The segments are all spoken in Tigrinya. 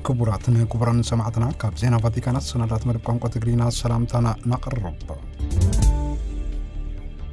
ክቡራትን ክቡራን ሰማዕትና፣ ካብ ዜና ቫቲካን ኣሰናዳት መደብ ቋንቋ ትግርኛ ሰላምታና ነቕርብ።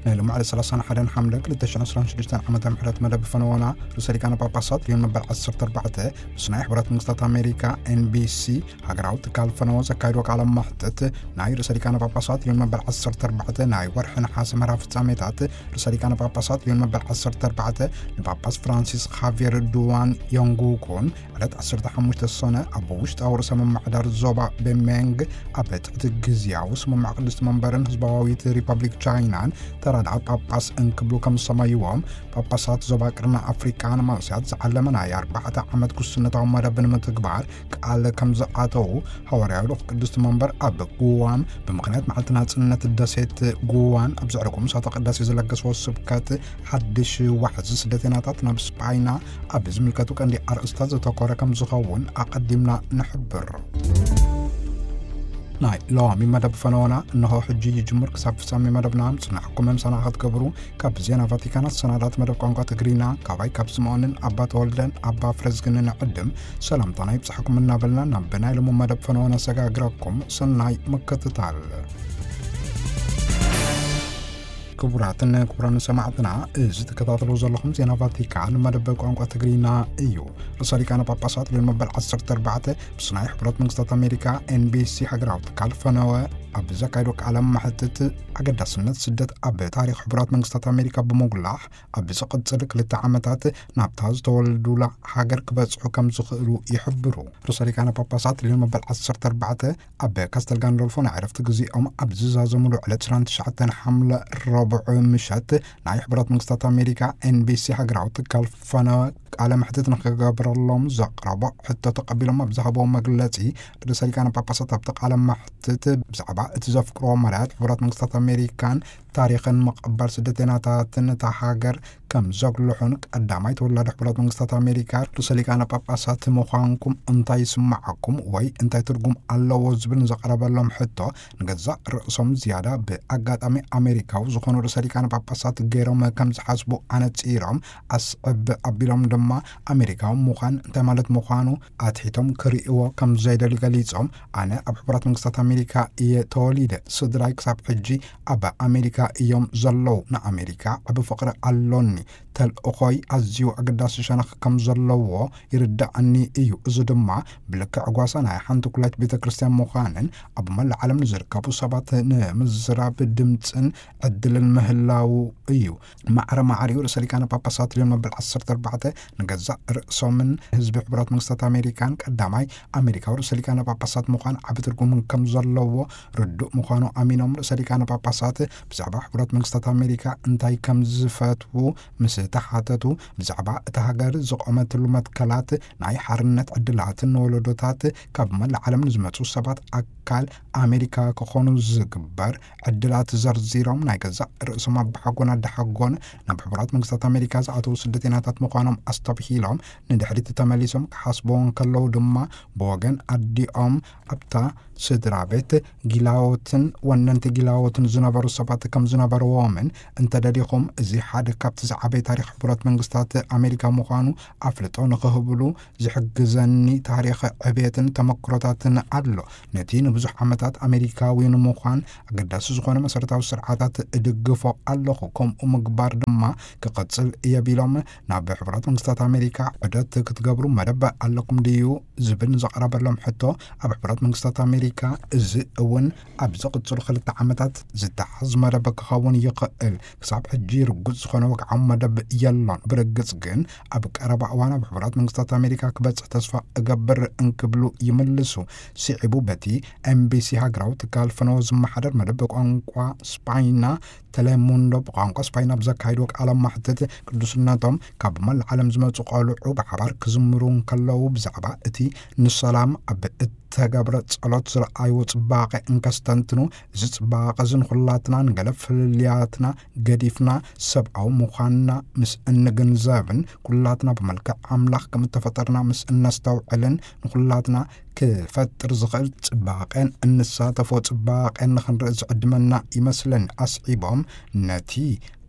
ናይ ሎማዕለ ሰላሳን ሓደን ሓምለ ክልተ ሽሕን ዕስራን ሽዱሽተን ዓመተ ምሕረት መደብ ፈነወና፣ ርእሰ ሊቃነ ጳጳሳት ሊዮን መበል ዓሰርተ ኣርባዕተ ምስ ናይ ሕቡራት መንግስታት ኣሜሪካ፣ ኤንቢሲ፣ ሃገራዊ ትካል ፈነወ ዘካይዶ ቃለ መሕትት፣ ናይ ርእሰ ሊቃነ ጳጳሳት ሊዮን መበል ዓሰርተ ኣርባዕተ ናይ ወርሒ ነሓሰ መርሃ ፍጻሜታት፣ ርእሰ ሊቃነ ጳጳሳት ሊዮን መበል ዓሰርተ ኣርባዕተ ንጳጳስ ፍራንሲስ ኻቪየር ዱዋን ዮንጉኩን ዕለት ዓሰርተ ሓሙሽተ ሰነ ኣብ ውሽጣዊ ርእሰ ምምሕዳር ዞባ ቤሜንግ ኣብ ትሕቲ ግዝያዊ ስምምዕ ቅድስቲ መንበርን ህዝባዊት ሪፐብሊክ ቻይናን ተራዳኢ ጳጳስ እንክብሉ ከም ዝሰመይዎም፣ ጳጳሳት ዞባ ቅርኒ ኣፍሪቃ ንመንስያት ዝዓለመ ናይ ኣርባዕተ ዓመት ክሱነታዊ መደብ ንምትግባር ቃል ከም ዝኣተዉ፣ ሃዋርያዊ ልኡኽ ቅድስቲ መንበር ኣብ ጉዋም ብምኽንያት መዓልቲ ናጽነት ደሴት ጉዋን ኣብ ዘዕረጎ ምሳተ ቅዳሴ ዝለገስዎ ስብከት፣ ሓድሽ ዋሕዚ ስደተኛታት ናብ ስጳይና ኣብ ዝምልከቱ ቀንዲ ኣርእስታት ዘተኮረ ከም ዝኸውን ኣቐዲምና ንሕብር። ናይ ሎሚ መደብ ፈነወና እንሆ ሕጂ ይጅምር። ክሳብ ፍጻሜ መደብና ምጽናሕኩም ምሳና ክትገብሩ ካብ ዜና ቫቲካን ኣሰናዳት መደብ ቋንቋ ትግርኛ፣ ካባይ ካብ ስምዖንን ኣባ ተወልደን ኣባ ፍረዝግንን ዕድም ሰላምታና ይብጻሕኩም እናበልና፣ ናብ ናይ ሎሚ መደብ ፈነወና ሰጋግረኩም። ሰናይ ምክትታል። ክቡራትን ክቡራን ሰማዕትና፣ እዚ ትከታተሉ ዘለኹም ዜና ቫቲካን መደብ ቋንቋ ትግርኛ እዩ። ርእሰ ሊቃነ ጳጳሳት ሊዮን መበል ዓሰርተ ኣርባዕተ ምስ ናይ ሕቡራት መንግስታት ኣሜሪካ፣ ኤንቢሲ፣ ሃገራዊ ትካል ፈነወ ኣብ ዘካየዶ ቃለ መሕትት፣ ኣገዳስነት ስደት ኣብ ታሪኽ ሕቡራት መንግስታት ኣሜሪካ ብምጉላሕ፣ ኣብ ዝቕጽል ክልተ ዓመታት ናብታ ዝተወለዱላ ሃገር ክበጽሑ ከም ዝኽእሉ ይሕብሩ። ርእሰ ሊቃነ ጳጳሳት ሊዮን መበል ዓሰርተ ኣርባዕተ ኣብ ካስተል ጋንዶልፎ ናይ ዕረፍቲ ግዜኦም ኣብ ዝዛዘምሉ ዕለት ዕስራን ትሽዓተን ሓምለ፣ ረቡዕ ምሸት፣ ናይ ሕቡራት መንግስታት ኣሜሪካ፣ ኤንቢሲ፣ ሃገራዊ ትካል ፈነወ ቃለ መሕትት ንክገብረሎም ዘቕረቦ ሕቶ ተቐቢሎም ኣብ ዝሃብዎ መግለጺ፣ ርእሰ ሊቃነ ጳጳሳት ኣብቲ ቃለ መሕትት ብዛዕባ እቲ ዘፍቅርዎ መዳያት ሕቡራት መንግስታት ኣሜሪካን ታሪኽን ምቕባል ስደተኛታትን እታ ሃገር ከም ዘጉልሑን፣ ቀዳማይ ተወላዲ ሕቡራት መንግስታት ኣሜሪካ ርእሰ ሊቃነ ጳጳሳት ምዃንኩም እንታይ ይስምዓኩም ወይ እንታይ ትርጉም ኣለዎ ዝብል ንዘቕረበሎም ሕቶ፣ ንገዛእ ርእሶም ዝያዳ ብኣጋጣሚ ኣሜሪካዊ ዝኾኑ ርእሰ ሊቃነ ጳጳሳት ገይሮም ከም ዝሓስቡ ኣነጺሮም፣ ኣስዕብ ኣቢሎም ድማ ኣሜሪካዊ ምዃን እንታይ ማለት ምዃኑ ኣትሒቶም ክርእይዎ ከም ዘይደልዩ ገሊጾም፣ ኣነ ኣብ ሕቡራት መንግስታት ኣሜሪካ እየ ተወሊደ። ስድራይ ክሳብ ሕጂ ኣብ ኣሜሪካ እዮም ዘለዉ። ንኣሜሪካ ዓቢ ፍቕሪ ኣሎኒ። ተልእኾይ ኣዝዩ ኣገዳሲ ሸነኽ ከም ዘለዎ ይርድኣኒ እዩ። እዚ ድማ ብልክዕ ጓሳ ናይ ሓንቲ ኩላይት ቤተ ክርስቲያን ምዃንን ኣብ መላእ ዓለም ንዝርከቡ ሰባት ንምዝራብ ድምጽን ዕድልን ምህላዉ እዩ። ማዕረ ማዕሪኡ ርእሰ ሊቃነ ጳጳሳት ሊዮን መበል ዓሰርተ ኣርባዕተ ንገዛእ ርእሶምን ህዝቢ ሕቡራት መንግስታት ኣሜሪካን ቀዳማይ ኣሜሪካዊ ርእሰ ሊቃነ ጳጳሳት ምዃን ዓቢ ትርጉም ከም ዘለዎ ርዱእ ምዃኑ ኣሚኖም፣ ርእሰ ሊቃነ ጳጳሳት ብዛዕባ ሕቡራት መንግስታት ኣሜሪካ እንታይ ከም ዝፈትዉ ምስ ተሓተቱ፣ ብዛዕባ እታ ሃገር ዝቖመትሉ መትከላት፣ ናይ ሓርነት ዕድላትን ንወለዶታት ካብ መላእ ዓለም ንዝመጹ ሰባት ኣካል ኣሜሪካ ክኾኑ ዝግበር ዕድላት ዘርዚሮም፣ ናይ ገዛእ ርእሶም ኣባሓጎን ኣደሓጎን ናብ ሕቡራት መንግስታት ኣሜሪካ ዝኣተዉ ስደተኛታት ምዃኖም ኣስተብሂሎም፣ ንድሕሪት ተመሊሶም ክሓስብዎ እንከለዉ ድማ፣ ብወገን ኣዲኦም ኣብታ ስድራ ቤት ጊላዎትን ወነንቲ ጊላዎትን ዝነበሩ ሰባት ከም ዝነበርዎምን፣ እንተደሊኹም፣ እዚ ሓደ ካብቲ ዝዓበየ ታሪኽ ሕቡራት መንግስታት ኣሜሪካ ምዃኑ ኣፍልጦ ንኽህብሉ ዝሕግዘኒ ታሪኽ ዕብየትን ተመክሮታትን ኣሎ። ነቲ ንብዙሕ ዓመታት ኣሜሪካዊ ንምዃን ኣገዳሲ ዝኾነ መሰረታዊ ስርዓታት እድግፎ ኣለኹ። ከምኡ ምግባር ድማ ክቐጽል እየ ቢሎም፣ ናብ ሕቡራት መንግስታት ኣሜሪካ ዑደት ክትገብሩ መደብ ኣለኩም ድዩ ዝብል ንዘቕረበሎም ሕቶ፣ ኣብ ሕቡራት መንግስታት ኣሜሪካ እዚ እውን ኣብ ዝቕጽሉ ክልተ ዓመታት ዝተሓዝ መደብ ክኸውን ይኽእል። ክሳብ ሕጂ ርጉጽ ዝኾነ ወግዓዊ መደብ የሎን። ብርግጽ ግን ኣብ ቀረባ እዋን ኣብ ሕቡራት መንግስታት ኣሜሪካ ክበጽሕ ተስፋ እገብር እንክብሉ ይምልሱ። ስዒቡ በቲ ኤምቢሲ ሃገራዊ ትካል ፈነወ ዝመሓደር መደብ ቋንቋ ስፓይና፣ ተሌሙንዶ ብቋንቋ ስፓይና ብዘካይድዎ ቃለ ማሕትት፣ ቅዱስነቶም ካብ መላእ ዓለም ዝመጹ ቆልዑ ብሓባር ክዝምሩ እንከለዉ ብዛዕባ እቲ ንሰላም ኣብ እተገብረ ጸሎት ዝረኣይዎ ጽባቐ እንከስተንትኑ፣ እዚ ጽባቐ እዚ ንኹላትና ንገለ ፍልልያትና ገዲፍና ሰብኣዊ ምዃንና ምስ እንግንዘብን ኩላትና ብመልክዕ ኣምላኽ ከም እተፈጠርና ምስ እነስተውዕልን ንኹላትና ክፈጥር ዝኽእል ጽባቐን እንሳተፎ ጽባቐን ንኽንርኢ ዝዕድመና ይመስለኒ። ኣስዒቦም ነቲ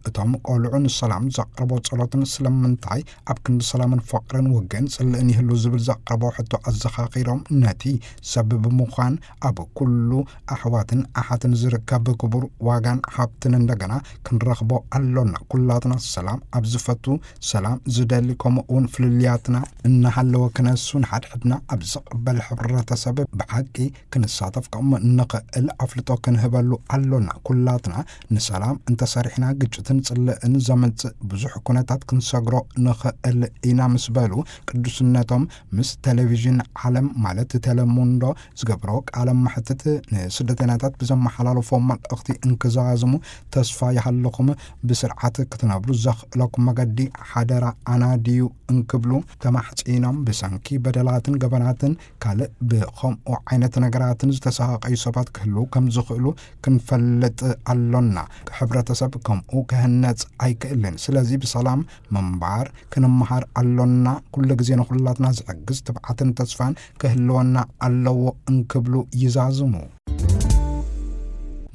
እቶም ቆልዑ ንሰላም ዘቕረቦ ጸሎትን ስለምንታይ ኣብ ክንዲ ሰላምን ፍቕርን ውግእን ጽልእን ይህሉ ዝብል ዘቕረቦ ሕቶ ኣዘኻኺሮም፣ ነቲ ሰብ ብምዃን ኣብ ኩሉ ኣሕዋትን ኣሓትን ዝርከብ ክቡር ዋጋን ሃብትን እንደገና ክንረኽቦ ኣሎና። ኩላትና ሰላም ኣብ ዝፈቱ፣ ሰላም ዝደሊ፣ ከምኡ እውን ፍልልያትና እናሃለወ ክነሱ፣ ንሓድሕድና ኣብ ዝቕበል ሕብረተሰብ ብሓቂ ክንሳተፍ ከም እንኽእል ኣፍልጦ ክንህበሉ ኣሎና። ኩላትና ንሰላም እንተሰሪሕና፣ ግጭትን ጽልእን ዘምጽእ ብዙሕ ኩነታት ክንሰግሮ ንኽእል ኢና ምስ በሉ፣ ቅዱስነቶም ምስ ቴሌቪዥን ዓለም ማለት ቴሌሙንዶ ዝገብሮ ቃለ መሕትት፣ ንስደተኛታት ብዘመሓላለፎ መልእኽቲ እንክዛዝሙ፣ ተስፋ ይሃለኹም፣ ብስርዓት ክትነብሩ ዘኽእለኩም መገዲ ሓደራ ኣናድዩ እንክብሉ ተማሕጺኖም፣ ብሰንኪ በደላትን ገበናትን ካልእ ብኸምኡ ዓይነት ነገራትን ዝተሳቐዩ ሰባት ክህልዉ ከም ዝኽእሉ ክንፈልጥ ኣሎና። ሕብረተሰብ ከምኡ ክህነጽ ኣይክእልን። ስለዚ ብሰላም ምንባር ክንመሃር ኣሎና። ኩሉ ግዜ ንኹላትና ዝሕግዝ ትብዓትን ተስፋን ክህልወና ኣለዎ እንክብሉ ይዛዝሙ።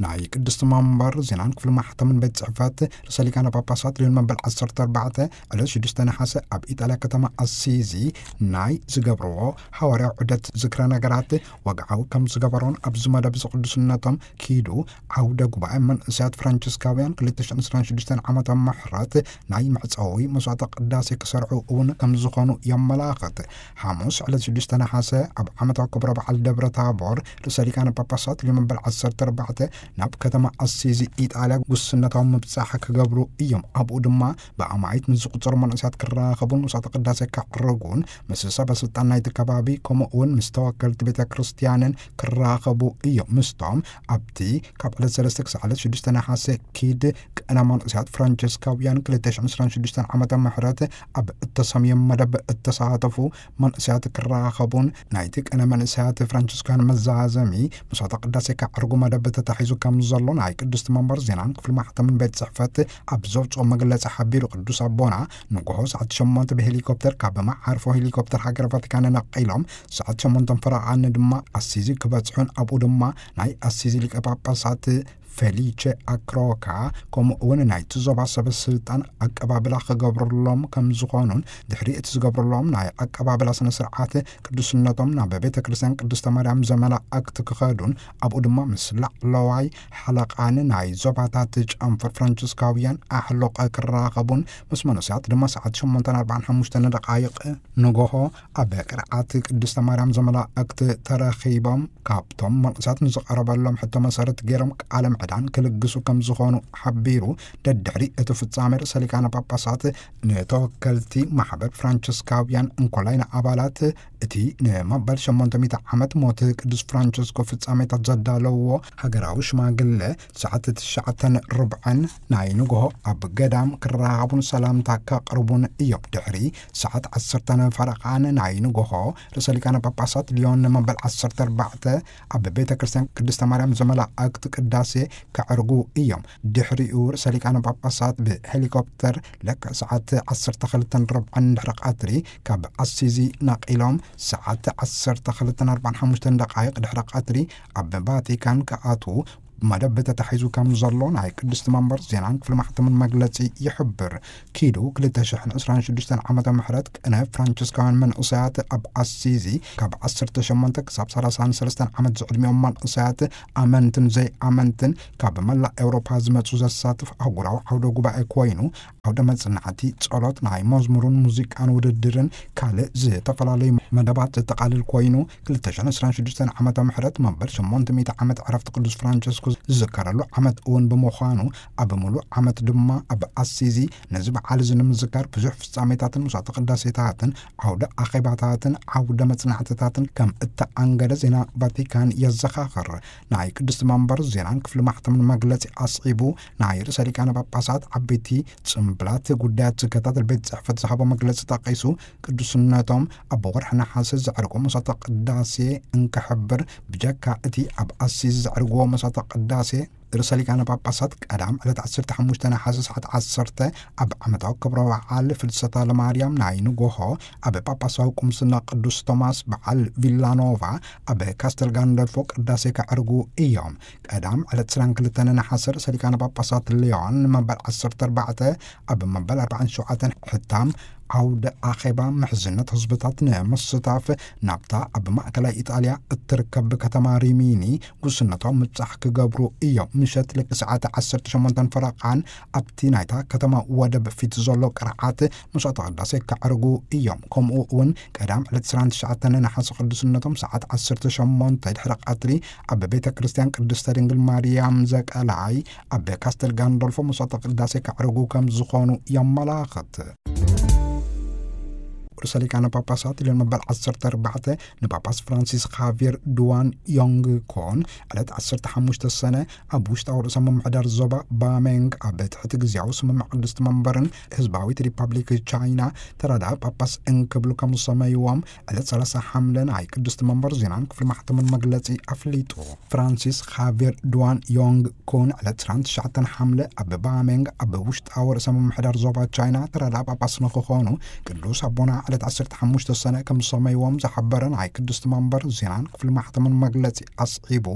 ናይ ቅድስቲ መንበር ዜናን ክፍሊ ማሕተምን ቤት ጽሕፈት ርእሰ ሊቃነ ጳጳሳት ልዮን መበል ዓሰርተ ኣርባዕተ ዕለት ሽዱሽተ ነሓሰ ኣብ ኢጣልያ ከተማ ኣሲዚ ናይ ዝገብርዎ ሃዋርያዊ ዑደት ዝክረ ነገራት ወግዓዊ ከም ዝገበሮን ኣብዚ መደብ እዚ ቅዱስነቶም ኪዱ ዓውደ ጉባኤ መንእሰያት ፍራንቸስካውያን ክልተ ሽሕን ዕስራን ሽዱሽተን ዓመተ ምሕረት ናይ መዕጸዊ መስዋዕተ ቅዳሴ ክሰርዑ እውን ከም ዝኾኑ የመላኽት። ሓሙስ ዕለት ሽዱሽተ ነሓሰ ኣብ ዓመታዊ ክብረ በዓል ደብረ ታቦር ርእሰ ሊቃነ ጳጳሳት ልዮን መበል ዓሰርተ ኣርባዕተ ናብ ከተማ ኣሲዚ ኢጣልያ ጉስነታዊ ምብጻሕ ክገብሩ እዮም። ኣብኡ ድማ ብኣማኢት ንዝቑጸሩ መንእሰያት ክራኸቡን መስዋዕተ ቅዳሴ ከዕርጉን ምስ ሰበ ስልጣን ናይቲ ከባቢ ከምኡ እውን ምስ ተወከልቲ ቤተ ክርስቲያንን ክራኸቡ እዮም። ምስቶም ኣብቲ ካብ ዕለት ሰለስተ ክሳዕ ዕለት ሽዱሽተ ነሓሰ ኪድ ቅነ መንእሰያት ፍራንቸስካውያን ክልተ ሽሕን ዕስራን ሽዱሽተን ዓመተ ምሕረት ኣብ እተሰምየ መደብ እተሳተፉ መንእሰያት ክራኸቡን ናይቲ ቅነ መንእሰያት ፍራንቸስካውያን መዛዘሚ መስዋዕተ ቅዳሴ ከዕርጉ መደብ ተታሒዙ ከም ዘሎ ናይ ቅድስቲ መንበር ዜናን ክፍሊ ማሕተምን ቤት ጽሕፈት ኣብ ዘውፅኦ መግለጺ ሓቢሩ። ቅዱስ ኣቦና ንጎሆ ሰዓት ሸሞንተ ብሄሊኮፕተር ካብ መዓርፎ ሄሊኮፕተር ሃገር ቫቲካን ነቒሎም ሰዓት ሸሞንተን ፈረቓን ድማ ኣሲዚ ክበጽሑን ኣብኡ ድማ ናይ ኣሲዚ ሊቀ ጳጳሳት ፌሊቸ ኣክሮካ ከምኡ እውን ናይቲ ዞባ ሰበ ስልጣን ኣቀባብላ ክገብርሎም ከም ዝኾኑን ድሕሪ እቲ ዝገብርሎም ናይ ኣቀባብላ ስነ ስርዓት ቅዱስነቶም ናብ ቤተ ክርስቲያን ቅድስተ ማርያም ዘመላእክት ክኸዱን ኣብኡ ድማ ምስ ላዕለዋይ ሓለቓን ናይ ዞባታት ጨንፈር ፍራንቸስካውያን ኣሕሎቐ ክራኸቡን ምስ መንእሰያት ድማ ሰዓት ሸሞንተን ኣርባዓን ሓሙሽተን ደቃይቕ ንጎሆ ኣብ ቅርዓት ቅድስተ ማርያም ዘመላእክት ተረኺቦም ካብቶም መንእሰያት ንዝቐረበሎም ሕቶ መሰረት ገይሮም ቃለ ምዕዳን ክልግሱ ከም ዝኾኑ ሓቢሩ። ደድሕሪ እቲ ፍጻሜ ርእሰ ሊቃነ ጳጳሳት ንተወከልቲ ማሕበር ፍራንቸስካውያን እንኮላይ ንኣባላት እቲ ንመበል ሸሞንተ ሚእቲ ዓመት ሞት ቅዱስ ፍራንቸስኮ ፍጻሜታት ዘዳለውዎ ሃገራዊ ሽማግለ ሰዓት ትሽዓተን ርብዕን ናይ ንግሆ ኣብ ገዳም ክራኸቡን ሰላምታ ከቕርቡን እዮም። ድሕሪ ሰዓት ዓሰርተ ፈረቓን ናይ ንግሆ ርእሰ ሊቃነ ጳጳሳት ሊዮን ንመበል ዓሰርተ ኣርባዕተ ኣብ ቤተ ክርስቲያን ቅድስተ ማርያም ዘመላእክት ቅዳሴ ከዕርጉ እዮም። ድሕሪኡ ርእሰ ሊቃነ ጳጳሳት ብሄሊኮፕተር ልክዕ ሰዓት ዓሰርተ ክልተን ርብዕን ድሕሪ ቀትሪ ካብ ኣሲዚ ነቒሎም ሰዓት ዓሰርተ ክልተን ኣርባዓን ሓሙሽተን ደቃይቕ ድሕሪ ቀትሪ ኣብ ቫቲካን ክኣትዉ መደብ ተታሒዙ ከም ዘሎ ናይ ቅድስቲ መንበር ዜናን ክፍሊ ማሕተምን መግለጺ ይሕብር። ኪዱ ክልተ ሽሕን ዕስራን ሽዱሽተን ዓመተ ምሕረት ቅነ ፍራንቸስካውያን መንእሰያት ኣብ ኣሲዚ ካብ ዓሰርተ ሸሞንተ ክሳብ ሰላሳን ሰለስተን ዓመት ዝዕድሚኦም መንእሰያት ኣመንትን ዘይኣመንትን ካብ መላእ ኤውሮፓ ዝመጹ ዘሳትፍ ኣህጉራዊ ዓውደ ጉባኤ ኮይኑ ዓውደ መጽናዕቲ፣ ጸሎት፣ ናይ መዝሙርን ሙዚቃን ውድድርን ካልእ ዝተፈላለዩ መደባት ዘጠቓልል ኮይኑ ክልተ ሽሕን ዕስራን ሽዱሽተን ዓመተ ምሕረት መበል ሸሞንተ ሚእቲ ዓመት ዕረፍቲ ቅዱስ ፍራንቸስኮ ዝዝከረሉ ዓመት እውን ብምዃኑ ኣብ ምሉእ ዓመት ድማ ኣብ ኣሲዚ ነዚ በዓል እዚ ንምዝካር ብዙሕ ፍጻሜታትን መስዋዕተ ቅዳሴታትን ዓውደ ኣኼባታትን ዓውደ መጽናዕትታትን ከም እተኣንገደ ዜና ቫቲካን የዘኻኽር። ናይ ቅድስቲ መንበር ዜናን ክፍሊ ማሕተምን መግለጺ ኣስዒቡ ናይ ርእሰ ሊቃነ ጳጳሳት ዓበይቲ ጽምብላት ጉዳያት ዝከታተል ቤት ጽሕፈት ዝሃቦ መግለጺ ጠቒሱ ቅዱስነቶም ኣብ ወርሒ ነሓሰ ዘዕርጎ መስዋዕተ ቅዳሴ እንክሕብር ብጀካ እቲ ኣብ ኣሲዚ ዘዕርግዎ መስዋዕተ ቅዳሴ ርእሰ ሊቃነ ጳጳሳት ቀዳም ዕለት ዓሰርተ ሓሙሽተ ነሓሰ ሰዓት ዓሰርተ ኣብ ዓመታዊ ክብረ በዓል ፍልሰታ ለማርያም ናይ ንጎሆ ኣብ ጳጳሳዊ ቁምስና ቅዱስ ቶማስ በዓል ቪላኖቫ ኣብ ካስተል ጋንደልፎ ቅዳሴ ከዕርጉ እዮም። ቀዳም ዕለት ዕስራን ክልተን ነሓሰ ርእሰ ሊቃነ ጳጳሳት ሊዮን መበል ዓሰርተ ኣርባዕተ ኣብ መበል ኣርባዓን ሸውዓተን ሕታም ዓውደ ኣኼባ ምሕዝነት ህዝብታት ንምስታፍ ናብታ ኣብ ማእከላይ ኢጣልያ እትርከብ ከተማ ሪሚኒ ጉስነቶም ምብጻሕ ክገብሩ እዮም። ምሸት ልክዕ ሰዓት ዓሰርተ ሸሞንተን ፈረቓን ኣብቲ ናይታ ከተማ ወደብ ፊት ዘሎ ቅርዓት መስዋዕተ ቅዳሴ ከዕርጉ እዮም። ከምኡ እውን ቀዳም ዕለት ዕስራን ትሽዓተን ነሓሰ ቅዱስነቶም ሰዓት ዓሰርተ ሸሞንተ ድሕሪ ቀትሪ ኣብ ቤተ ክርስቲያን ቅድስተ ድንግል ማርያም ዘቀላይ ኣብ ካስተል ጋንዶልፎ መስዋዕተ ቅዳሴ ከዕርጉ ከም ዝኾኑ የመላኽት። ርእሰ ሊቃነ ጳጳሳት ሊዮን መበል ዓሰርተ ኣርባዕተ ንጳጳስ ፍራንሲስ ኻቪር ዱዋን ዮንግ ኮን ዕለት ዓሰርተ ሓሙሽተ ሰነ ኣብ ውሽጣዊ ርእሰ ምምሕዳር ዞባ ባሜንግ ኣብ ትሕቲ ግዜያዊ ስምምዕ ቅድስቲ መንበርን ህዝባዊት ሪፓብሊክ ቻይና ተራዳኢ ጳጳስ እንክብሉ ከም ዝሰመይዎም ዕለት ሰላሳ ሓምለ ናይ ቅድስቲ መንበር ዜናን ክፍሊ ማሕተምን መግለጺ ኣፍሊጡ። ፍራንሲስ ኻቪር ዱዋን ዮንግ ኩን ዕለት ዕስራን ትሽዓተን ሓምለ ኣብ ባሜንግ ኣብ ውሽጣዊ ርእሰ ምምሕዳር ዞባ ቻይና ተራዳኢ ጳጳስ ንክኾኑ ቅዱስ ኣቦና ዕለት ዓሰርተ ሓሙሽተ ሰነ ከም ዝሰመይዎም ዝሓበረ ናይ ቅድስቲ መንበር ዜናን ክፍሊ ማሕተምን መግለጺ ኣስዒቡ፣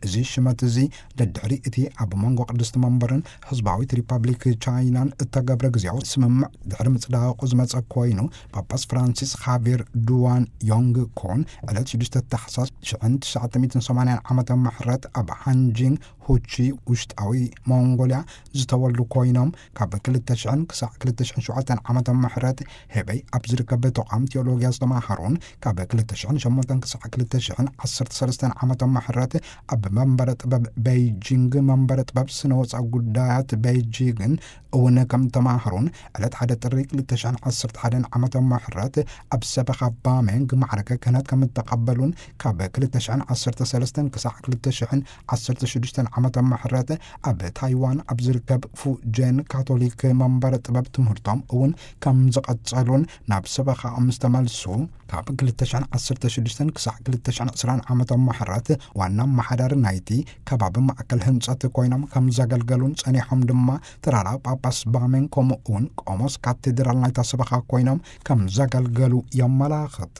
እዚ ሽመት እዚ ደድሕሪ እቲ ኣብ መንጎ ቅድስቲ መንበርን ህዝባዊት ሪፓብሊክ ቻይናን እተገብረ ግዜያዊ ስምምዕ ድሕሪ ምጽዳቑ ዝመጸ ኮይኑ፣ ጳጳስ ፍራንሲስ ኻቪር ዱዋን ዮንግ ኮን ዕለት ሽዱሽተ ታሕሳስ ሽሕን ትሽዓተ ሚእትን ሰማንያን ዓመተ ምሕረት ኣብ ሃንጂንግ ሁቺ ውሽጣዊ ሞንጎልያ ዝተወልዱ ኮይኖም፣ ካብ ክልተ ሽሕን ክሳዕ ክልተ ሽሕን ሸውዓተን ዓመተ ምሕረት ሄበይ ኣብ ዝርከብ ተቋም ቴዎሎጊያ ዝተማሃሩን፣ ካብ ክልተ ሽሕን ሸሞንተን ክሳዕ ክልተ ሽሕን ዓሰርተ ሰለስተን ዓመተ ምሕረት ኣብ መንበረ ጥበብ ቤይጂንግ መንበረ ጥበብ ስነ ወፃ ጉዳያት ቤይጂንግን እውን ከም ተማሃሩን፣ ዕለት ሓደ ጥሪ ክልተ ሽሕን ዓሰርተ ሓደን ዓመተ ምሕረት ኣብ ሰበኻ ባሜንግ ማዕረገ ክህነት ከም እተቐበሉን፣ ካብ ክልተ ሽሕን ዓሰርተ ሰለስተን ክሳዕ ክልተ ሽሕን ዓሰርተ ሽዱሽተን ዓመተ ምሕረት ኣብ ታይዋን ኣብ ዝርከብ ፉጀን ካቶሊክ መንበረ ጥበብ ትምህርቶም እውን ከም ዝቐጸሉን፣ ናብ ሰበኻኦም ምስ ተመልሱ ካብ ክልተ ሽሕን ዓሰርተ ሽዱሽተን ክሳዕ ክልተ ሽሕን ዕስራን ዓመተ ምሕረት ዋና ኣመሓዳሪ ናይቲ ከባቢ ማእከል ህንጸት ኮይኖም ከም ዘገልገሉን ጸኒሖም ድማ ተራራ ጳጳስ ባሜን ከምኡ እውን ቆሞስ ካቴድራል ናይታ ሰበኻ ኮይኖም ከም ዘገልገሉ የመላኽት።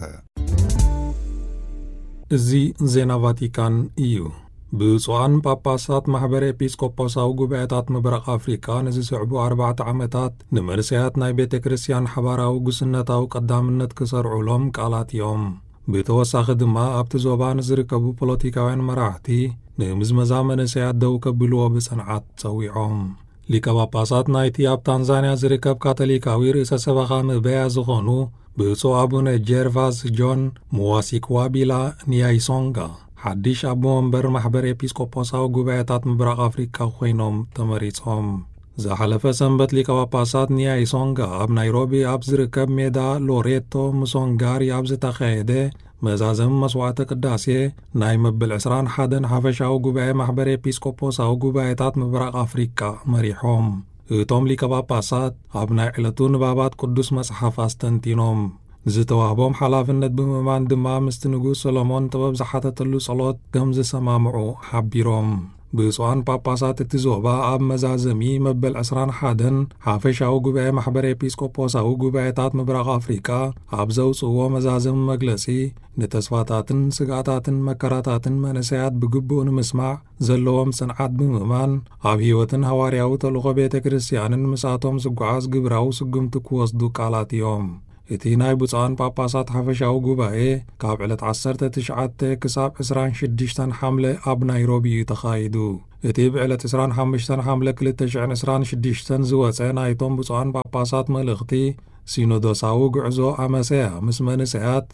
እዚ ዜና ቫቲካን እዩ። ብፁዓን ጳጳሳት ማሕበር ኤጲስቆጶሳዊ ጉባኤታት ምብራቕ ኣፍሪቃ ንዝስዕቡ ኣርባዕተ ዓመታት ንመንእሰያት ናይ ቤተ ክርስቲያን ሓባራዊ ጉስነታዊ ቀዳምነት ክሰርዑሎም ቃላት እዮም። ብተወሳኺ ድማ ኣብቲ ዞባ ንዝርከቡ ፖለቲካውያን መራሕቲ ንምዝመዛ መንእሰያት ደው ከብልዎ ብጽንዓት ጸዊዖም። ሊቀ ጳጳሳት ናይቲ ኣብ ታንዛንያ ዝርከብ ካቶሊካዊ ርእሰ ሰበኻ ምበያ ዝኾኑ ብፁዕ ኣቡነ ጀርቫስ ጆን ሙዋሲክዋቢላ ኒያይሶንጋ ሓድሽ ኣቦ መንበር ማሕበር ኤጲስቆጶሳዊ ጉባኤታት ምብራቕ ኣፍሪቃ ኮይኖም ተመሪጾም። ዝሓለፈ ሰንበት ሊቀ ጳጳሳት ኒያይሶንጋ ኣብ ናይሮቢ ኣብ ዝርከብ ሜዳ ሎሬቶ ሙሶንጋሪ ኣብ ዝተኻየደ መዛዘሚ መስዋዕተ ቅዳሴ ናይ መብል ዕስራን ሓደን ሓፈሻዊ ጉባኤ ማሕበር ኤጲስቆጶሳዊ ጉባኤታት ምብራቕ ኣፍሪቃ መሪሖም። እቶም ሊቀ ጳጳሳት ኣብ ናይ ዕለቱ ንባባት ቅዱስ መጽሓፍ ኣስተንቲኖም። ዝተዋህቦም ሓላፍነት ብምእማን ድማ ምስቲ ንጉስ ሰሎሞን ጥበብ ዝሓተተሉ ጸሎት ከም ዝሰማምዑ ሓቢሮም። ብፁዓን ጳጳሳት እቲ ዞባ ኣብ መዛዘሚ መበል ዕስራን ሓደን ሓፈሻዊ ጉባኤ ማሕበር ኤጲስቆጶሳዊ ጉባኤታት ምብራቕ ኣፍሪቃ ኣብ ዘውጽእዎ መዛዘሚ መግለጺ፣ ንተስፋታትን ስግኣታትን መከራታትን መንእሰያት ብግቡእ ንምስማዕ ዘለዎም ጽንዓት ብምእማን፣ ኣብ ህይወትን ሃዋርያዊ ተልእኾ ቤተ ክርስቲያንን ምስኣቶም ዝጓዓዝ ግብራዊ ስጉምቲ ክወስዱ ቃላት እዮም። እቲ ናይ ብፁዓን ጳጳሳት ሓፈሻዊ ጉባኤ ካብ ዕለት ዓሰርተ ትሽዓተ ክሳብ ዕስራን ሽዱሽተን ሓምለ ኣብ ናይሮቢ እዩ ተኻይዱ። እቲ ብዕለት ዕስራን ሓሙሽተን ሓምለ ክልተ ሽሕን ዕስራን ሽዱሽተን ዝወጸ ናይቶም ብፁዓን ጳጳሳት መልእኽቲ፣ ሲኖዶሳዊ ጉዕዞ ኣመሰያ ምስ መንእሰያት፣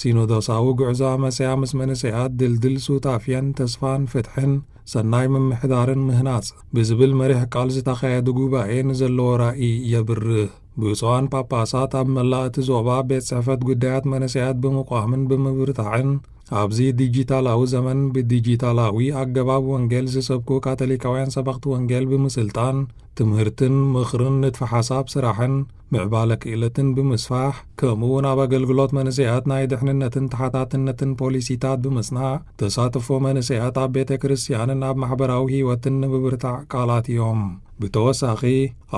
ሲኖዶሳዊ ጉዕዞ ኣመሰያ ምስ መንእሰያት ድልድል ሱታፍያን ተስፋን ፍትሕን ሰናይ ምምሕዳርን ምህናጽ ብዝብል መሪሕ ቃል ዝተኻየደ ጉባኤ ንዘለዎ ራእይ የብርህ። ብፁዓን ጳጳሳት ኣብ መላእ እቲ ዞባ ቤት ጽሕፈት ጉዳያት መንእሰያት ብምቋምን ብምብርታዕን፣ ኣብዚ ዲጂታላዊ ዘመን ብዲጂታላዊ ኣገባብ ወንጌል ዝሰብኩ ካቶሊካውያን ሰበኽቲ ወንጌል ብምስልጣን፣ ትምህርትን ምኽርን ንድፈ ሓሳብ ስራሕን ምዕባለ ክእለትን ብምስፋሕ፣ ከምኡ እውን ኣብ ኣገልግሎት መንእሰያት ናይ ድሕንነትን ተሓታትነትን ፖሊሲታት ብምጽናዕ፣ ተሳትፎ መንእሰያት ኣብ ቤተ ክርስቲያንን ኣብ ማሕበራዊ ህይወትን ንምብርታዕ ቃላት እዮም። ብተወሳኺ፣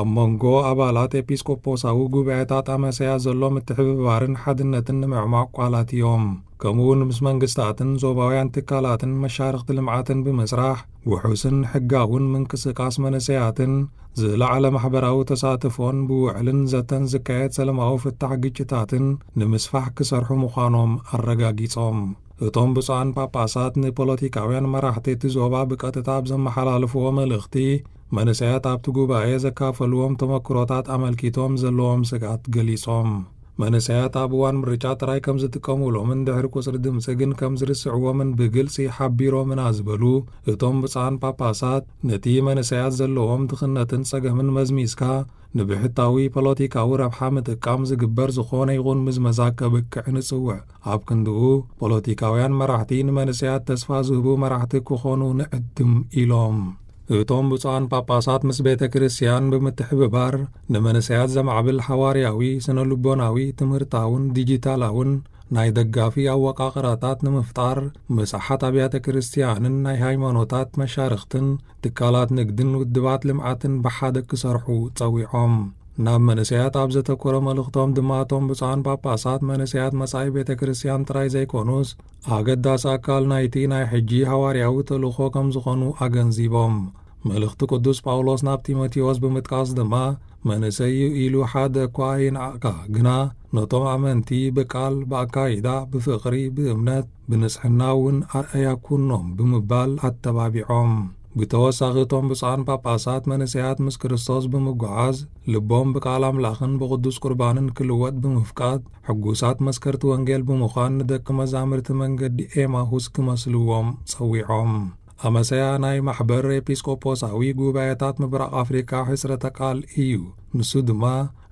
ኣብ መንጎ ኣባላት ኤጲስቆጶሳዊ ጉባኤታት ኣመሰያ ዘሎ ምትሕብባርን ሓድነትን ንምዕማቕ ቃላት እዮም። ከምኡ እውን ምስ መንግስታትን ዞባውያን ትካላትን መሻርኽቲ ልምዓትን ብምስራሕ፣ ውሑስን ሕጋውን ምንቅስቃስ መንእሰያትን ዝለዓለ ማሕበራዊ ተሳትፎን ብውዕልን ዘተን ዝካየድ ሰላማዊ ፍታሕ ግጭታትን ንምስፋሕ ክሰርሑ ምዃኖም ኣረጋጊጾም። እቶም ብፁዓን ጳጳሳት ንፖለቲካውያን መራሕቲ እቲ ዞባ ብቀጥታ ኣብ ዘመሓላለፍዎ መልእኽቲ፣ መንእሰያት ኣብቲ ጉባኤ ዘካፈልዎም ተመክሮታት ኣመልኪቶም ዘለዎም ስግኣት ገሊጾም። መንእሰያት ኣብ እዋን ምርጫ ጥራይ ከም ዝጥቀሙሎምን ድሕሪ ቁጽሪ ድምጺ ግን ከም ዝርስዕዎምን ብግልጺ ሓቢሮምና ዝበሉ እቶም ብፁዓን ጳጳሳት፣ ነቲ መንእሰያት ዘለዎም ድኽነትን ጸገምን መዝሚዝካ ንብሕታዊ ፖለቲካዊ ረብሓ ምጥቃም ዝግበር ዝኾነ ይኹን ምዝመዛ ከብቅዕ ንጽውዕ። ኣብ ክንድኡ፣ ፖለቲካውያን መራሕቲ ንመንእሰያት ተስፋ ዝህቡ መራሕቲ ክኾኑ ንዕድም ኢሎም። እቶም ብፁዓን ጳጳሳት ምስ ቤተ ክርስቲያን ብምትሕብባር ንመንእሰያት ዘማዕብል ሓዋርያዊ፣ ስነ ልቦናዊ፣ ትምህርታውን ዲጂታላውን ናይ ደጋፊ ኣወቃቕራታት ንምፍጣር፣ ምስ ኣሓት ኣብያተ ክርስቲያንን ናይ ሃይማኖታት መሻርኽትን ትካላት ንግድን ውድባት ልምዓትን ብሓደ ክሰርሑ ጸዊዖም። ናብ መንእሰያት ኣብ ዘተኮረ መልእኽቶም ድማ፣ እቶም ብፁዓን ጳጳሳት መንእሰያት መጻኢ ቤተ ክርስቲያን ጥራይ ዘይኮኑስ፣ ኣገዳሲ ኣካል ናይቲ ናይ ሕጂ ሃዋርያዊ ተልእኾ ከም ዝኾኑ ኣገንዚቦም። መልእኽቲ ቅዱስ ጳውሎስ ናብ ጢሞቴዎስ ብምጥቃስ ድማ፣ መንእሰይ እዩ ኢሉ ሓደ እኳ ኣይንዓቕካ፣ ግና ነቶም ኣመንቲ ብቃል፣ ብኣካይዳ፣ ብፍቕሪ፣ ብእምነት፣ ብንጽሕና እውን ኣርኣያ ኩኖም ብምባል ኣተባቢዖም። ብተወሳኺ፣ እቶም ብፁዓን ጳጳሳት መንእሰያት ምስ ክርስቶስ ብምጓዓዝ፣ ልቦም ብቃል ኣምላኽን ብቅዱስ ቁርባንን ክልወጥ ብምፍቃድ፣ ሕጉሳት መስከርቲ ወንጌል ብምዃን ንደቂ መዛምርቲ መንገዲ ኤማሁስ ክመስልዎም ጸዊዖም። ኣመሰያ ናይ ማሕበር ኤጲስቆጶሳዊ ጉባኤታት ምብራቕ ኣፍሪቃ ሕጽረተ ቃል እዩ። ንሱ ድማ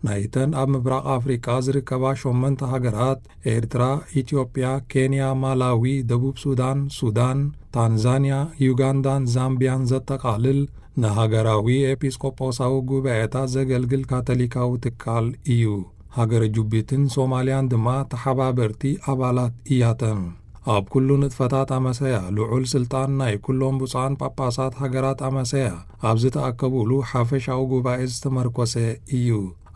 ናይተን ኣብ ምብራቕ ኣፍሪቃ ዝርከባ ሸሞንተ ሃገራት፣ ኤርትራ፣ ኢትዮጵያ፣ ኬንያ፣ ማላዊ፣ ደቡብ ሱዳን፣ ሱዳን፣ ታንዛንያ፣ ዩጋንዳን ዛምቢያን ዘጠቓልል፣ ንሃገራዊ ኤጲስቆጶሳዊ ጉባኤታት ዘገልግል ካቶሊካዊ ትካል እዩ። ሃገረ ጁቢትን ሶማልያን ድማ ተሓባበርቲ ኣባላት እያተን። ኣብ ኩሉ ንጥፈታት ኣመሰያ ልዑል ስልጣን ናይ ኩሎም ብፁዓን ጳጳሳት ሃገራት ኣመሰያ ኣብ ዝተኣከቡሉ ሓፈሻዊ ጉባኤ ዝተመርኮሰ እዩ።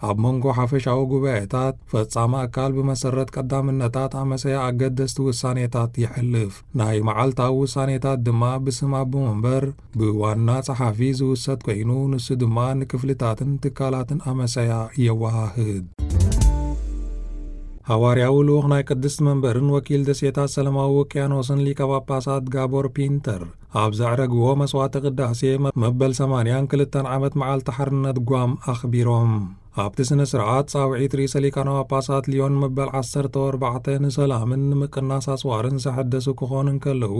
ኣብ መንጎ ሓፈሻዊ ጉባኤታት፣ ፈጻሚ ኣካል ብመሰረት ቀዳምነታት ኣመሰያ ኣገደስቲ ውሳኔታት የሕልፍ። ናይ መዓልታዊ ውሳኔታት ድማ ብስም ኣቦ መንበር፣ ብዋና ጸሓፊ ዝውሰድ ኮይኑ፣ ንሱ ድማ ንክፍልታትን ትካላትን ኣመሰያ የወሃህድ። ሃዋርያዊ ልኡኽ ናይ ቅድስቲ መንበርን ወኪል ደሴታት ሰላማዊ ውቅያኖስን ሊቀ ጳጳሳት ጋቦር ፒንተር፣ ኣብ ዘዕረግዎ መስዋዕተ ቅዳሴ መ-፣ መበል ሰማንያን ክልተን ዓመት መዓልቲ ሓርነት ጓም ኣኽቢሮም። ኣብቲ ስነ ስርዓት፣ ጻውዒት ርእሰ ሊቃነ ጳጳሳት ሊዮን መበል ዓሰርተ ኣርባዕተ ንሰላምን ንምቅናስ ኣጽዋርን ዘሐደሱ ክኾኑ እንከለዉ፣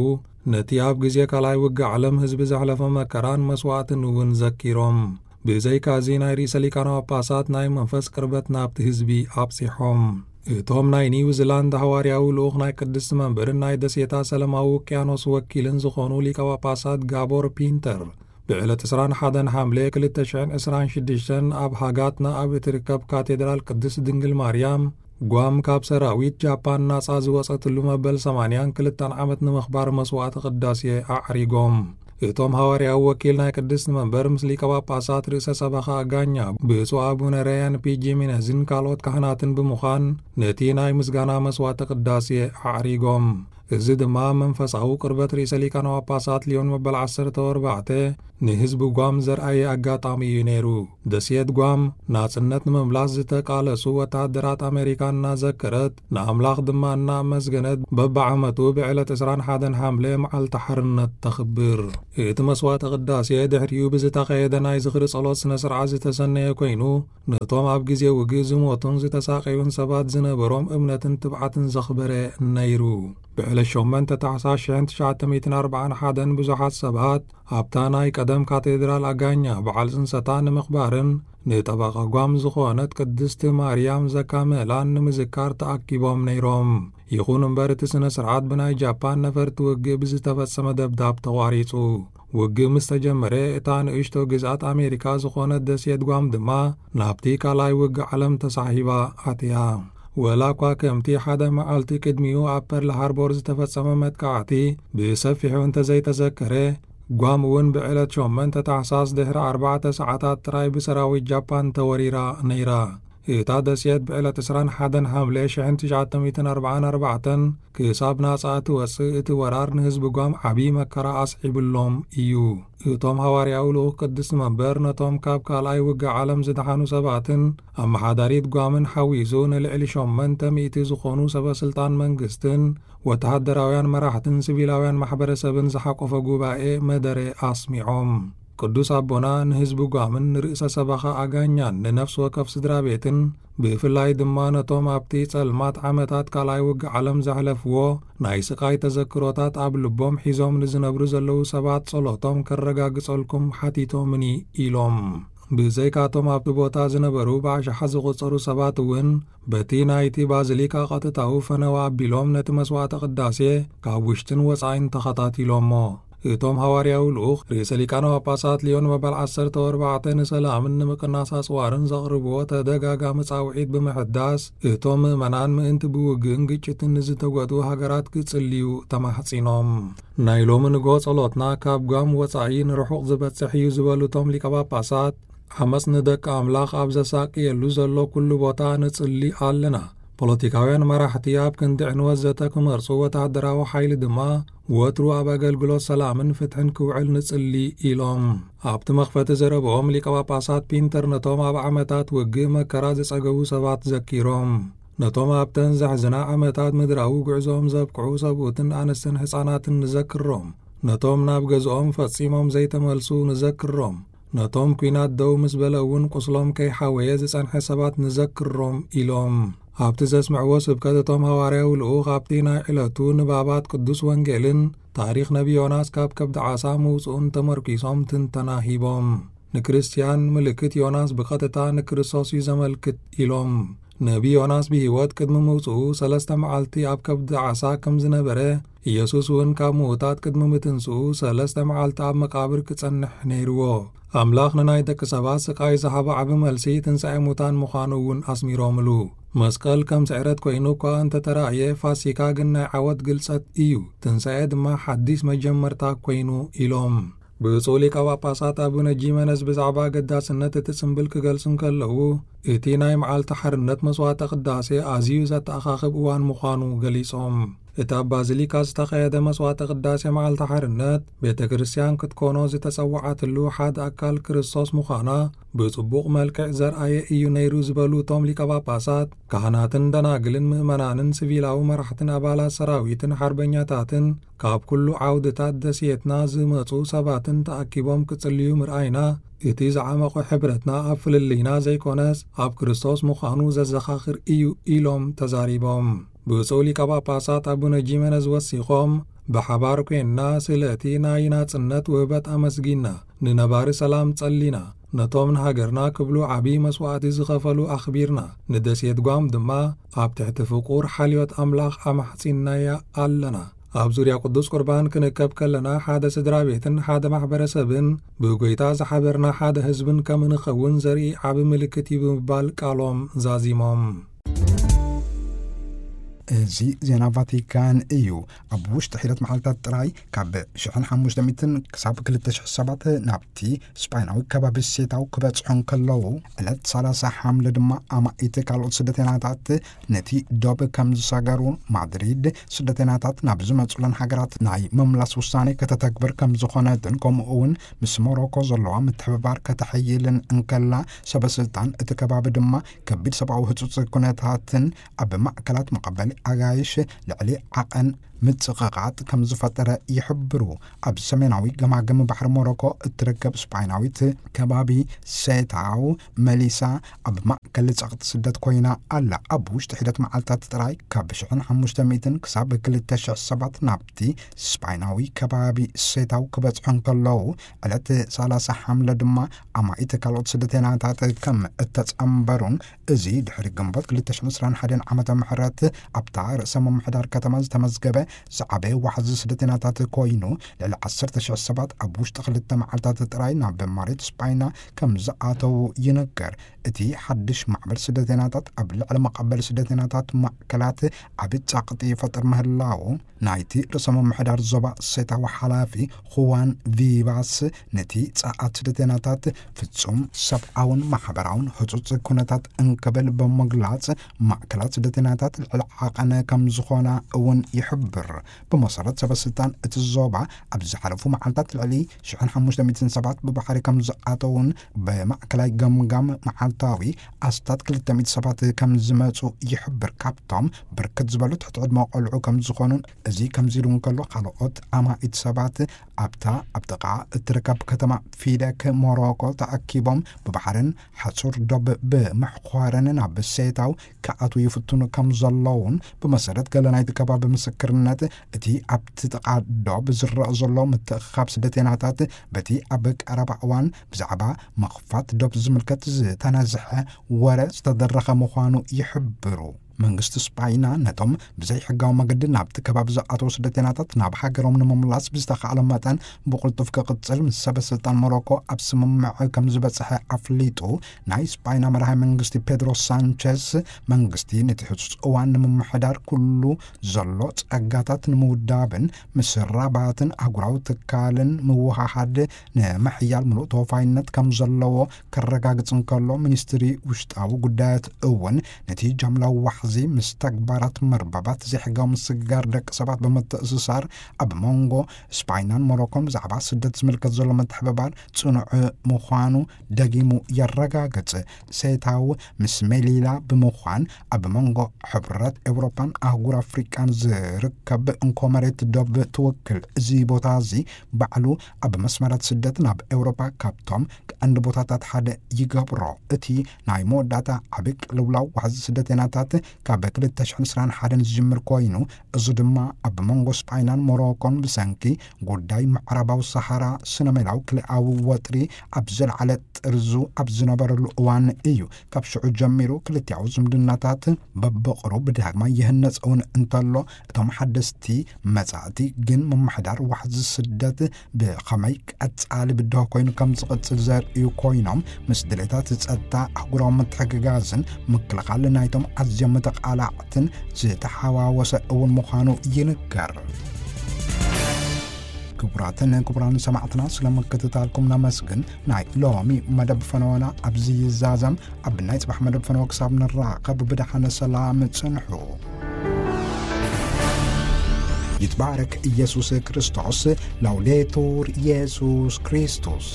ነቲ ኣብ ግዜ ካልኣይ ውግእ ዓለም ህዝቢ ዘሕለፎ መከራን መስዋዕትን እውን ዘኪሮም። ብዘይካዚ፣ ናይ ርእሰ ሊቃነ ጳጳሳት ናይ መንፈስ ቅርበት ናብቲ ህዝቢ ኣብጺሖም። እቶም ናይ ኒውዚላንድ ሃዋርያዊ ልኡኽ ናይ ቅድስቲ መንበርን ናይ ደሴታት ሰላማዊ ውቅያኖስ ወኪልን ዝኾኑ ሊቀ ጳጳሳት ጋቦር ፒንተር፣ ብዕለት ዕስራን ሓደን ሓምለ ክልተ ሽሕን ዕስራን ሽዱሽተን ኣብ ሃጋትና ኣብ እትርከብ ካቴድራል ቅድስት ድንግል ማርያም ጓም ካብ ሰራዊት ጃፓን ናጻ ዝወጸትሉ መበል ሰማንያን ክልተን ዓመት ንምኽባር መስዋዕተ ቅዳሴ ኣዕሪጎም። እቶም ሃዋርያዊ ወኪል ናይ ቅድስቲ መንበር ምስ ሊቀ ጳጳሳት ርእሰ ሰበኻ ኣጋኛ ብፁዕ ኣቡነ ረያን ፒ ጂሚነዝን ካልኦት ካህናትን ብምዃን ነቲ ናይ ምስጋና መስዋዕተ ቅዳሴ ኣዕሪጎም። እዚ ድማ መንፈሳዊ ቅርበት ርእሰ ሊቃነ ጳጳሳት ሊዮን መበል ዓሰርተ ኣርባዕተ ንህዝቢ ጓም ዘርኣየ ኣጋጣሚ እዩ ነይሩ። ደሴት ጓም ናጽነት ንምምላስ ዝተቃለሱ ወተሃደራት ኣሜሪካ እናዘከረት፣ ንኣምላኽ ድማ እናኣመስገነት፣ በብዓመቱ ብዕለት ዕስራን ሓደን ሓምለ መዓልቲ ሓርነት ተኽብር። እቲ መስዋዕተ ቅዳሴ ድሕሪኡ ብዝተኻየደ ናይ ዝኽሪ ጸሎት ስነ ስርዓት ዝተሰነየ ኮይኑ፣ ነቶም ኣብ ግዜ ውግእ ዝሞቱን ዝተሳቀዩን ሰባት ዝነበሮም እምነትን ትብዓትን ዘኽበረ ነይሩ። ብዕለት ሸሞንተ ታሕሳስ ሽሕን ትሽዓተ ሚእትን ኣርባዓን ሓደን ብዙሓት ሰባት ኣብታ ናይ ቀደም ካቴድራል ኣጋኛ በዓል ጽንሰታ ንምኽባርን ንጠበቓ ጓም ዝኾነት ቅድስቲ ማርያም ዘካመላን ንምዝካር ተኣኪቦም ነይሮም። ይኹን እምበር፣ እቲ ስነ ስርዓት ብናይ ጃፓን ነፈርቲ ውግእ ብዝተፈጸመ ደብዳብ ተቋሪጹ። ውግእ ምስ ተጀመረ፣ እታ ንእሽቶ ግዝኣት ኣሜሪካ ዝኾነት ደሴት ጓም ድማ ናብቲ ካልኣይ ውግእ ዓለም ተሳሒባ ኣትያ። ወላ እኳ ከምቲ ሓደ መዓልቲ ቅድሚኡ ኣብ ፐርል ሃርቦር ዝተፈጸመ መጥቃዕቲ ብሰፊሑ እንተዘይተዘከረ፣ ጓም እውን ብዕለት ሸሞንተ ታሕሳስ ድሕሪ ኣርባዕተ ሰዓታት ጥራይ ብሰራዊት ጃፓን ተወሪራ ነይራ። እታ ደሴት ብዕለት ዕስራን ሓደን ሓምለ ሽሕን ትሽዓተ ሚእትን ኣርባዓን ኣርባዕተን ክሳብ ናጻ እትወጽእ፣ እቲ ወራር ንህዝቢ ጓም ዓቢ መከራ ኣስዒብሎም እዩ። እቶም ሃዋርያዊ ልኡኽ ቅድስቲ መንበር ነቶም ካብ ካልኣይ ውግእ ዓለም ዝደሓኑ ሰባትን ኣመሓዳሪት ጓምን ሓዊሱ ንልዕሊ ሸሞንተ ሚእቲ ዝኾኑ ሰበ ስልጣን መንግስትን ወተሃደራውያን መራሕትን ሲቪላውያን ማሕበረሰብን ዝሓቆፈ ጉባኤ መደረ ኣስሚዖም። ቅዱስ ኣቦና ንህዝቢ ጓምን ንርእሰ ሰበኻ ኣጋኛን ንነፍሲ ወከፍ ስድራ ቤትን፣ ብፍላይ ድማ ነቶም ኣብቲ ጸልማት ዓመታት ካልኣይ ውግእ ዓለም ዘሕለፍዎ ናይ ስቓይ ተዘክሮታት ኣብ ልቦም ሒዞም ንዝነብሩ ዘለዉ ሰባት ጸሎቶም ከረጋግጸልኩም ሓቲቶምኒ ኢሎም። ብዘይካቶም ኣብቲ ቦታ ዝነበሩ ብኣሽሓት ዝቑጸሩ ሰባት እውን በቲ ናይቲ ባዚሊካ ቀጥታዊ ፈነወ ኣቢሎም ነቲ መስዋዕተ ቅዳሴ ካብ ውሽጥን ወጻኢን ተኸታቲሎሞ። እቶም ሃዋርያዊ ልኡኽ ርእሰ ሊቃነ ጳጳሳት ሊዮን መበል ዓሰርተ ኣርባዕተ ንሰላምን ንምቅናስ ኣጽዋርን ዘቕርብዎ ተደጋጋሚ ጻውዒት ብምሕዳስ፣ እቶም ምእመናን ምእንቲ ብውግእን ግጭትን ንዝተጎድኡ ሃገራት ክጽልዩ ተማሕጺኖም። ናይ ሎሚ ንግሆ ጸሎትና ካብ ጓም ወጻኢ ንርሑቕ ዝበጽሕ እዩ ዝበሉ እቶም ሊቀ ጳጳሳት፣ ዓመጽ ንደቂ ኣምላኽ ኣብ ዘሳቅየሉ ዘሎ ኩሉ ቦታ ንጽሊ ኣለና። ፖለቲካውያን መራሕቲ ኣብ ክንዲ ዕንወት ዘተ ክመርጹ፣ ወተሃደራዊ ሓይሊ ድማ ወትሩ ኣብ ኣገልግሎት ሰላምን ፍትሕን ክውዕል ንጽሊ ኢሎም። ኣብቲ መኽፈቲ ዘረብኦም ሊቀ ጳጳሳት ፒንተር ነቶም ኣብ ዓመታት ውግእ መከራ ዝጸገቡ ሰባት ዘኪሮም። ነቶም ኣብተን ዘሕዝና ዓመታት ምድራዊ ጉዕዞኦም ዘብቅዑ ሰብኡትን ኣንስትን ሕፃናትን ንዘክሮም። ነቶም ናብ ገዝኦም ፈጺሞም ዘይተመልሱ ንዘክሮም። ነቶም ኲናት ደው ምስ በለ እውን ቁስሎም ከይሓወየ ዝጸንሐ ሰባት ንዘክሮም ኢሎም። ኣብቲ ዘስምዕዎ ስብከት እቶም ሃዋርያዊ ልኡኽ ኣብቲ ናይ ዕለቱ ንባባት ቅዱስ ወንጌልን ታሪኽ ነቢ ዮናስ ካብ ከብዲ ዓሳ ምውጽኡን ተመርኪሶም ትንተና ሂቦም። ንክርስትያን ምልክት ዮናስ ብቐጥታ ንክርስቶስ እዩ ዘመልክት ኢሎም። ነቢ ዮናስ ብህይወት ቅድሚ ምውጽኡ ሰለስተ መዓልቲ ኣብ ከብዲ ዓሳ ከም ዝነበረ፣ ኢየሱስ እውን ካብ ምዉታት ቅድሚ ምትንስኡ ሰለስተ መዓልቲ ኣብ መቃብር ክጸንሕ ነይርዎ። ኣምላኽ ንናይ ደቂ ሰባት ስቃይ ዝሃቦ ዓቢ መልሲ ትንሳኤ ሙታን ምዃኑ እውን ኣስሚሮምሉ። መስቀል ከም ስዕረት ኮይኑ እኳ እንተተራእየ፣ ፋሲካ ግን ናይ ዓወት ግልጸት እዩ፣ ትንሳኤ ድማ ሓዲስ መጀመርታ ኮይኑ ኢሎም። ብፁዕ ሊቀ ጳጳሳት ኣቡነ ጂመነዝ ብዛዕባ ኣገዳስነት እቲ ጽምብል ክገልጹ እንከለዉ፣ እቲ ናይ መዓልቲ ሓርነት መስዋዕተ ቅዳሴ ኣዝዩ ዘተኣኻኽብ እዋን ምዃኑ ገሊጾም። እቲ ኣብ ባዚሊካ ዝተኻየደ መስዋዕተ ቅዳሴ መዓልቲ ሓርነት፣ ቤተ ክርስቲያን ክትኮኖ ዝተጸውዓትሉ ሓደ ኣካል ክርስቶስ ምዃና ብጽቡቕ መልክዕ ዘርኣየ እዩ ነይሩ ዝበሉ እቶም ሊቀ ጳጳሳት፣ ካህናትን ደናግልን ምእመናንን ሲቪላዊ መራሕትን ኣባላት ሰራዊትን ሓርበኛታትን ካብ ኩሉ ዓውድታት ደሴትና ዝመጹ ሰባትን ተኣኪቦም ክጽልዩ ምርኣይና፣ እቲ ዝዓመቖ ሕብረትና ኣብ ፍልልይና ዘይኮነስ ኣብ ክርስቶስ ምዃኑ ዘዘኻኽር እዩ ኢሎም ተዛሪቦም። ብፁዕ ሊቀ ጳጳሳት ኣቡነ ጂመነዝ ወሲኾም፣ ብሓባር ኮይንና ስለቲ ናይ ናጽነት ውህበት ኣመስጊንና፣ ንነባሪ ሰላም ጸሊና፣ ነቶም ንሃገርና ክብሉ ዓቢ መስዋዕቲ ዝኸፈሉ ኣኽቢርና፣ ንደሴት ጓም ድማ ኣብ ትሕቲ ፍቑር ሓልዮት ኣምላኽ ኣማሕጺንናያ ኣለና። ኣብ ዙርያ ቅዱስ ቁርባን ክንእከብ ከለና፣ ሓደ ስድራ ቤትን ሓደ ማሕበረሰብን ብጎይታ ዝሓበርና ሓደ ህዝብን ከም እንኸውን ዘርኢ ዓቢ ምልክት እዩ ብምባል ቃሎም ዛዚሞም። እዚ ዜና ቫቲካን እዩ። ኣብ ውሽጢ ሒደት መዓልታት ጥራይ ካብ ሽሕን ሓሙሽተ ሚእትን ክሳብ ክልተ ሽሕ ሰባት ናብቲ ስጳይናዊ ከባቢ ሴታው ክበጽሑ እንከለዉ፣ ዕለት ሰላሳ ሓምለ ድማ ኣማኢት ካልኦት ስደተኛታት ነቲ ዶብ ከም ዝሰገሩን ማድሪድ ስደተኛታት ናብ ዝመጹለን ሃገራት ናይ ምምላስ ውሳኔ ከተተግብር ከም ዝኾነትን፣ ከምኡ እውን ምስ ሞሮኮ ዘለዋ ምትሕብባር ከተሐይልን እንከላ፣ ሰበ ስልጣን እቲ ከባቢ ድማ ከቢድ ሰብኣዊ ህጹጽ ኩነታትን ኣብ ማእከላት መቐበሊ ኣጋይሽ ልዕሊ ዓቐን ምጽቕቓጥ ከም ዝፈጠረ ይሕብሩ። ኣብ ሰሜናዊ ገማግም ባሕሪ ሞሮኮ እትርከብ ስጳይናዊት ከባቢ ሴታው መሊሳ፣ ኣብ ማእከል ጸቕጢ ስደት ኮይና ኣላ። ኣብ ውሽጢ ሒደት መዓልታት ጥራይ ካብ ሽሕን ሓሙሽተ ሚእትን ክሳብ ክልተ ሽሕ ሰባት ናብቲ ስጳይናዊ ከባቢ ሴታው ክበጽሑ እንከለዉ፣ ዕለት ሰላሳ ሓምለ ድማ ኣማኢት ካልኦት ስደተኛታት ከም እተጸንበሩን፣ እዚ ድሕሪ ግንቦት ክልተ ሽሕን ዕስራን ሓደን ዓመተ ምሕረት ኣብታ ርእሰ ምምሕዳር ከተማ ዝተመዝገበ ዝዓበየ ዋሕዚ ስደተኛታት ኮይኑ፣ ልዕሊ ዓሰርተ ሽሕ ሰባት ኣብ ውሽጢ ክልተ መዓልታት ጥራይ ናብ መሬት ስጳይና ከም ዝኣተዉ ይንገር። እቲ ሓድሽ ማዕበል ስደተኛታት ኣብ ልዕሊ መቐበሊ ስደተኛታት ማእከላት ዓቢ ጸቕጢ ይፈጥር ምህላዉ፣ ናይቲ ርእሰ ምምሕዳር ዞባ ሴታዊ ሓላፊ፣ ኹዋን ቪቫስ፣ ነቲ ጸዓት ስደተኛታት ፍጹም ሰብኣውን ማሕበራውን ህጹጽ ኩነታት እንክብል ብምግላጽ፣ ማእከላት ስደተኛታት ልዕሊ ዓቐን ከም ዝኾና እውን ይሕብር። ብመሰረት ሰበ ስልጣን እቲ ዞባ፣ ኣብ ዝሓለፉ መዓልታት ልዕሊ ሽሕን ሓሙሽተ ሚእትን ሰባት ብባሕሪ ከም ዝኣተዉን፣ ብማእከላይ ገምጋም መዓልታዊ ኣስታት ክልተ ሚእቲ ሰባት ከም ዝመጹ ይሕብር። ካብቶም ብርክት ዝበሉ ትሕቲ ዕድመ ቆልዑ ከም ዝኾኑን፣ እዚ ከምዚ ኢሉ እንከሎ፣ ካልኦት ኣማኢት ሰባት ኣብታ ኣብ ጥቓ እትርከብ ከተማ ፊደክ ሞሮኮ ተኣኪቦም ብባሕርን ሓጹር ዶብ ብምሕኳርን ናብ ሴታው ክኣትዉ ይፍትኑ ከም ዘለዉን፣ ብመሰረት ገለ ናይቲ ከባቢ ምስክርነት፣ እቲ ኣብቲ ጥቓ ዶብ ዝረአ ዘሎ ምትእኽኻብ ስደተኛታት በቲ ኣብ ቀረባ እዋን ብዛዕባ ምኽፋት ዶብ ዝምልከት ዝተነዝሐ ወረ ዝተደረኸ ምዃኑ ይሕብሩ። መንግስቲ ስጳይና ነቶም ብዘይሕጋዊ መገዲ ናብቲ ከባቢ ዝኣተዉ ስደተኛታት ናብ ሃገሮም ንምምላስ ብዝተኻእለ መጠን ብቕልጡፍ ክቕጽል ምስ ሰበ ስልጣን ሞሮኮ ኣብ ስምምዕ ከም ዝበጽሐ ኣፍሊጡ። ናይ ስጳይና መራሒ መንግስቲ ፔድሮ ሳንቸስ፣ መንግስቲ ነቲ ህጹጽ እዋን ንምምሕዳር ኩሉ ዘሎ ጸጋታት ንምውዳብን ምስ ራባትን ኣህጉራዊ ትካልን ምውሃሃድ ንምሕያል ምሉእ ተወፋይነት ከም ዘለዎ ከረጋግጽ እንከሎ፣ ሚኒስትሪ ውሽጣዊ ጉዳያት እውን ነቲ ጃምላዊ ዋሕዚ ምስ ተግባራት መርበባት ዘይሕጋዊ ምስግጋር ደቂ ሰባት ብምትእስሳር፣ ኣብ መንጎ ስፓይናን ሞሮኮን ብዛዕባ ስደት ዝምልከት ዘሎ ምትሕብባር ጽኑዕ ምዃኑ ደጊሙ የረጋግጽ። ሴታው ምስ ሜሊላ ብምዃን ኣብ መንጎ ሕብረት ኤውሮፓን ኣህጉር ኣፍሪቃን ዝርከብ እንኮ መሬት ዶብ ትውክል። እዚ ቦታ እዚ ባዕሉ ኣብ መስመራት ስደት ናብ ኤውሮፓ ካብቶም ቀንዲ ቦታታት ሓደ ይገብሮ። እቲ ናይ መወዳእታ ዓቢ ቅልውላው ዋሕዚ ስደተኛታት ካብ ክልተ ሽሕን ዕስራን ሓደን ዝጅምር ኮይኑ፣ እዚ ድማ ኣብ መንጎ ስጳይናን ሞሮኮን ብሰንኪ ጉዳይ ምዕራባዊ ሰሃራ ስነ-ሜላዊ ክልኣዊ ወጥሪ ኣብ ዝለዓለ ጥርዙ ኣብ ዝነበረሉ እዋን እዩ። ካብ ሽዑ ጀሚሩ ክልቲኣዊ ዝምድናታት በብቕሩብ ዳግማይ ይህነጽ እውን እንተሎ፣ እቶም ሓደስቲ መጻእቲ ግን ምምሕዳር ዋሕዚ ስደት ብኸመይ ቀጻሊ ብድሆ ኮይኑ ከም ዝቕጽል ዘርእዩ ኮይኖም፣ ምስ ድሌታት ጸጥታ ኣህጉራዊ ምትሕግጋዝን ምክልኻል ናይቶም ኣዝዮም ተቓላዕትን ዝተሓዋወሰ እውን ምዃኑ ይንገር። ክቡራትን ክቡራን ሰማዕትና፣ ስለ ምክትታልኩም ነመስግን። ናይ ሎሚ መደብ ፈነወና ኣብዚ ይዛዘም። ኣብ ናይ ጽባሕ መደብ ፈነወ ክሳብ ንራኸብ ብደሓነ ሰላም ጽንሑ። ይትባረክ ኢየሱስ ክርስቶስ። ላውዴቱር ኢየሱስ ክርስቶስ።